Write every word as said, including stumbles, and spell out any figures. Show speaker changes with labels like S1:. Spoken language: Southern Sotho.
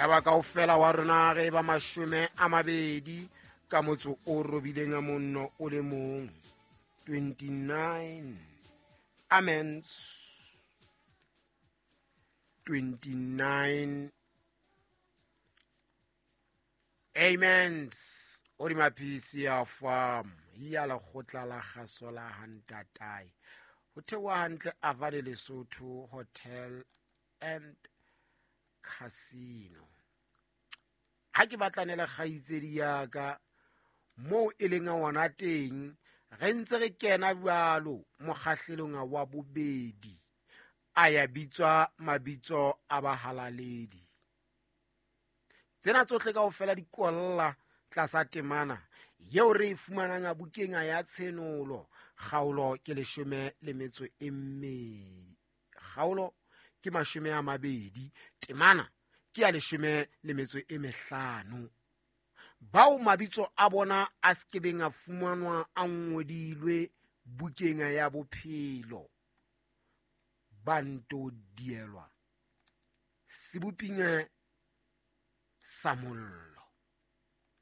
S1: Yaba kaofela wa rona re ba mashome a mabedi ka motso o robileng a monno o le mong. twenty-nine amens, twenty-nine amens. Hodima P C ya farm ya lekgotla la kgaso la Hantatae. Ho theoha hantle Avale Lesotho Hotel and Casino. Ha ke batlane le kgaitsedi ya ka moo e leng hona teng, re ntse re kena jwalo mokgahlelong wa bobedi. A ya bitswa mabitso a bahalaledi. Tsena tsohle kaofela di kwalla tlasa temana eo re e fumanang bukeng ya Tshenolo, kgaolo ke leshome le metso e mmedi, kgaolo ke mashome a mabedi, temana ke ya leshome le metso e mehlano. Bao mabitso a bona a se kebeng a fumanwa a ngodilwe bukeng ya bophelo, ba nto dielwa seboping sa mollo.